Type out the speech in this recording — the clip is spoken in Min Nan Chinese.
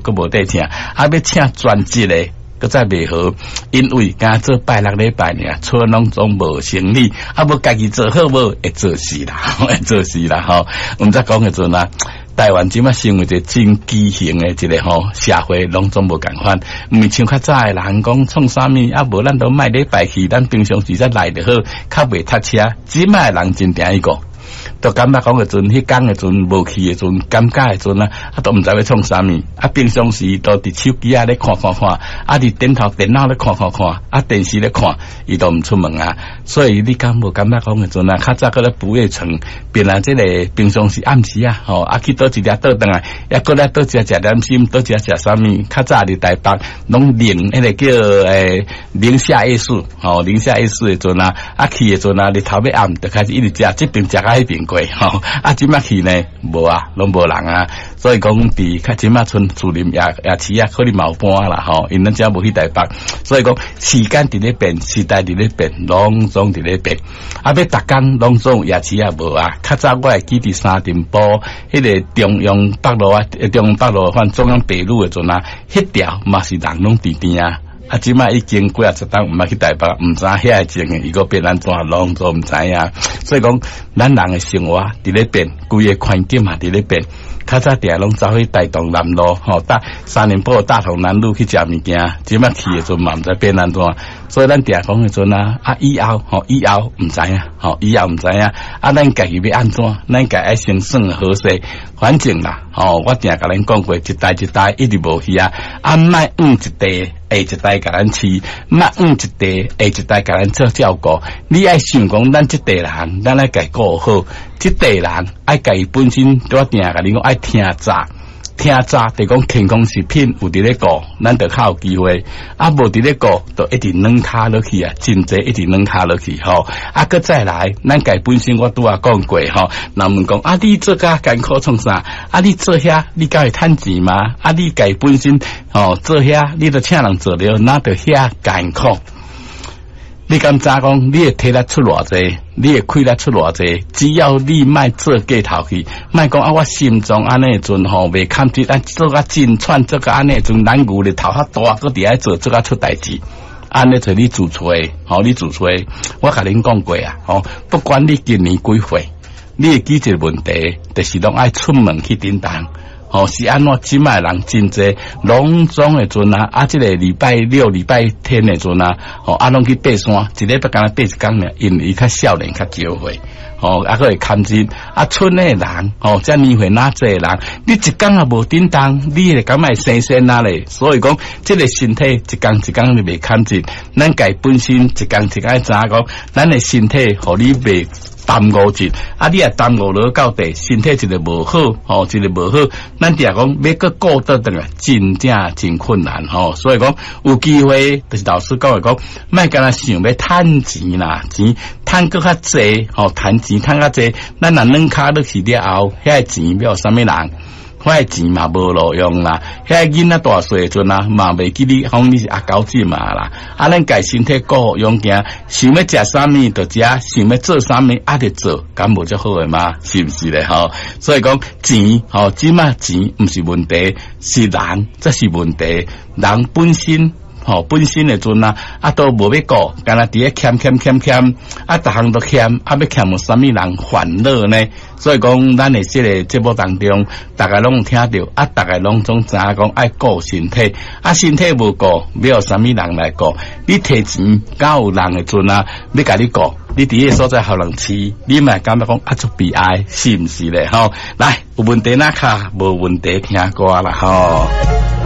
閣無得請，啊欲請專職的，閣再袂好，因為敢做拜六禮拜爾，厝攏總無生理，啊無家己做好無會做事啦，會做事啦吼。毋知講的陣啊，台灣這馬成為一個真畸形的一個吼社會，攏總無仝款。毋是像較早的人講創啥物，啊無咱都莫禮拜去，咱平常時才來就好，較袂塞車。這馬的人真定伊個。都感覺講的陣，彼工的陣無去的陣，感覺的陣啊，啊都毋知欲創啥物。啊，平常時都佇手機仔咧看看看，啊佇頂頭電腦咧看看看，啊電視咧看，伊都毋出門啊。所以你敢無感覺講的陣啊？較早閣咧不夜城，變來這個平常時暗時啊，吼啊去佗一粒倒轉來，抑閣咧佗一食點心，佗一食啥物？較早佇台北攏寧彼個叫寧夏夜市，吼寧夏夜市的陣啊，啊去的陣啊，日頭欲暗就開始一直食，這邊食到彼邊過，吼啊這馬去呢，無啊，攏無人啊，所以講佇較這馬賰士林夜夜市啊，可能嘛有搬啦，吼，因咱遮無去台北，所以講時間佇咧變，時代佇咧變，攏總佇咧變。啊，欲逐工攏總夜市也無啊。較早我會記佇三重埔彼個中央北路啊，中央北路反中央北路的陣啊，彼條嘛是人攏甜甜啊。啊，這馬已經幾仔十冬毋捌去台北，毋知遐個情形，伊閣變按怎，攏總毋知影。所以講，咱人的生活佇咧變，規个環境嘛佇咧變。較早定攏走去大同南路，吼，大三重埔大同南路去食物件，這馬去的陣嘛毋知變按怎。所以咱定講的陣啊，啊以後吼，以後毋知影，吼，以後毋知影。啊，咱家己欲按怎？咱家愛先算好勢，反正啦，吼，我定共恁講過，一代一代一直無去啊。啊，莫怨一代，下一代共咱飼，莫怨一代，下一代共咱做照顧。你愛想講，咱這代人，咱愛家顧好，這代人愛家己本身，我定共你講愛聽早，聽早，就講健康食品有佇咧顧，咱就較有機會。啊，無佇咧顧，就一直軟跤落去啊，真濟一直軟跤落去吼。啊，閣再來，咱家本身我拄仔講過吼，人問講啊，你做遮艱苦創啥？啊，你做遐，你敢會趁錢嗎？啊，你家本身吼做遐，你著請人做了，哪著遐艱苦？你敢知講？你會體力出偌濟？你會氣力出偌濟？只要你莫做過頭去，莫講啊！我心臟按呢陣吼袂堪得，啊做甲真喘，做甲按呢陣，咱牛的頭較大，閣佇愛做，做甲出代誌。按呢做你自揣，吼你自揣。我共恁講過啊，吼，不管你今年幾歲，你會記一個問題，就是攏愛出門去振動。吼，是按怎？這馬人真濟，攏總的陣啊！啊，這個禮拜六、禮拜天的陣啊，吼，啊，攏去爬山，一禮拜敢若爬一工爾，因為伊較少年，較少歲，吼，啊，閣會堪忍。啊，賰的人，吼，這年歲若濟人，你一工也無振動，你會感覺會生鮮啊咧。所以講，這個身體一工一工你袂堪忍，咱家本身一工一工知影講，咱的身體予你袂耽誤一，啊！你若耽誤落到底，身體一個無好，吼，一個無好，咱定講欲閣顧倒轉來，真正真困難吼。所以講有機會，就是老師講的講，莫干焦想欲趁錢啦，錢趁閣較濟，吼，趁錢趁較濟，咱若軟跤落去了後，遐個錢欲予啥物人？遐個錢嘛無路用啦，遐個囡仔大細的陣啊，嘛袂記你講你是阿狗仔嘛啦。啊，咱家身體顧好養健，想欲食啥物就食，想欲做啥物啊就做，敢無足好的嗎？是毋是咧？吼，所以講錢，吼，這馬錢毋是問題，是人才是問題，人本身。吼，本身的陣啊，啊都無欲顧，干焦佇咧欠欠欠欠，啊逐項都欠，啊欲欠予啥物人煩惱呢？所以講，咱的這個節目當中，逐家攏有聽著，啊，逐家攏總知影講愛顧身體，啊，身體無顧，欲予啥物人來顧？你提錢，敢有人的陣啊，欲共你顧？你佇彼個所在予人飼，你嘛會感覺講啊足悲哀，是毋是咧？吼，來，有問題若敲，無問題聽歌啦，吼。